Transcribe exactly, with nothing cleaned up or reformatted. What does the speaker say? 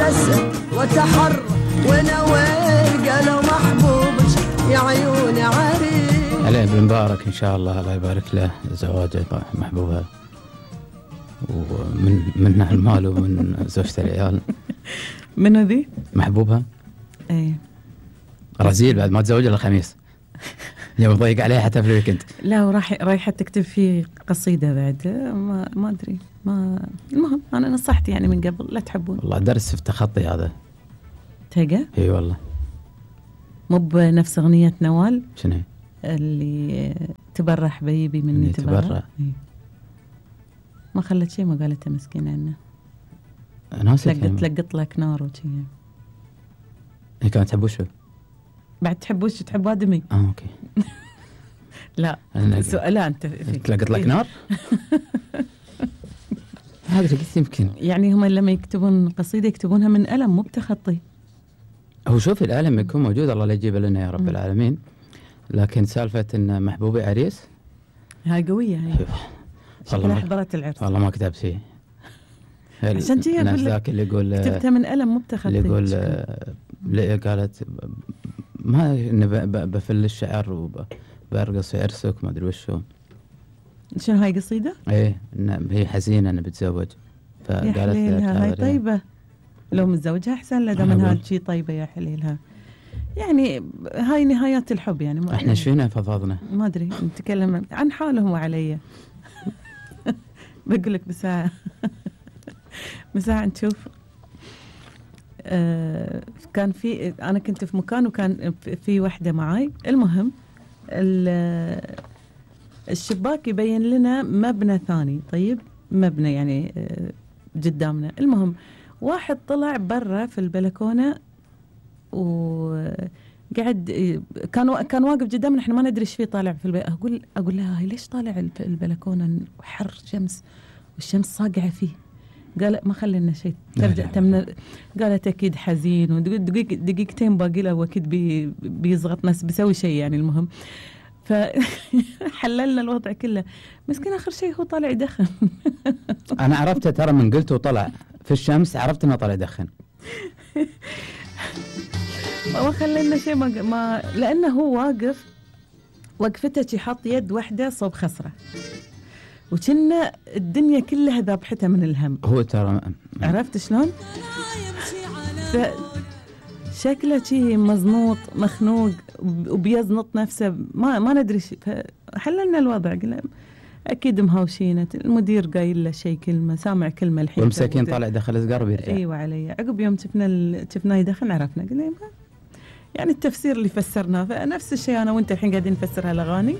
وتبتسم وتحر ونويل قالوا محبوبك يا عيوني عريس. عليه بالمبارك إن شاء الله، الله يبارك له زواجه محبوبها ومن منها المال ومن زوجته العيال. من ذي محبوبها ايه رزيل بعد ما تزوج الا الخميس. يوم ضيق عليه حتى في الويكند. لا وراح رايحه تكتب فيه قصيده بعد، ما ما ادري ما المهم انا نصحت يعني من قبل لا تحبون. والله درس في التخطي هذا. تلقى اي والله. مو بنفس اغنيه نوال شنو اللي تبرح بيبي مني تبرح, تبرح. إيه. ما خلت شيء ما قالته مسكينه عنه. ناس تلقط تلقط لك نار وشي. هي كانت تحب وشو؟ بعد تحب وش تحب ادمي؟ اه اوكي. لا سؤال انت تلقط لك نار. هذا قلت يمكن يعني هم لما يكتبون قصيده يكتبونها من قلم مو بتخطي. هو شوف القلم يكون موجود الله لا يجيب لنا يا رب م. العالمين، لكن سالفه ان محبوبي عريس هاي قويه هاي. شكلها حضرت العرس. والله ما كتبت فيه. عشان كذا الناس ذاك اللي يقول كتبتها من قلم مو بتخطي. اللي يقول لا قالت ما بفل الشعر وبرقص في عرسك ما ادري وشو. شنو هاي قصيده؟ ايه هي حزينه انها بتزوج فقالت لها هاي طيبه لو متزوجها احسن لا دام انها شيء طيبه يا حليلها. يعني هاي نهايات الحب يعني. احنا ايش فينا فضفضنا؟ ما ادري نتكلم عن حالهم وعلي. بقول لك بساعه بساعه نشوف. آه كان في انا كنت في مكان وكان في وحده معاي. المهم الشباك يبين لنا مبنى ثاني. طيب مبنى يعني آه قدامنا. المهم واحد طلع برا في البلكونه وقعد كان كان واقف قدامنا احنا ما ندري ايش فيه طالع في البلكونه. اقول اقول لها هاي ليش طالع البلكونه وحر شمس والشمس صاقعه فيه؟ قال ما خلينا شيء ترجع تمنا. قالت اكيد حزين ودقيق دقيقتين باقي له واكيد بي بيزغط ناس بيسوي شيء يعني. المهم فحللنا الوضع كله. مسكين اخر شيء هو طالع يدخن. انا عرفته ترى من قلت وطلع في الشمس عرفت انه طالع يدخن. ما خلينا شيء ما, ما لانه هو واقف وقفته شي حاط يد واحده صوب خصره وكنا الدنيا كلها ذابحته من الهم. هو ترى عرفت شلون؟ شكله شيء مزنوط مخنوق وبيزنط نفسه ما ما ندري. فحللنا الوضع قلنا اكيد مهاوشينه. المدير قايل له شيء كلمه سامع كلمه الحين والمساكين طالع دخل سجار وبيرجع. ايوه علي. عقب يوم شفنا ال... شفناه يدخن عرفنا قلنا يعني التفسير اللي فسرناه. فنفس الشيء انا وانت الحين قاعدين نفسر هالاغاني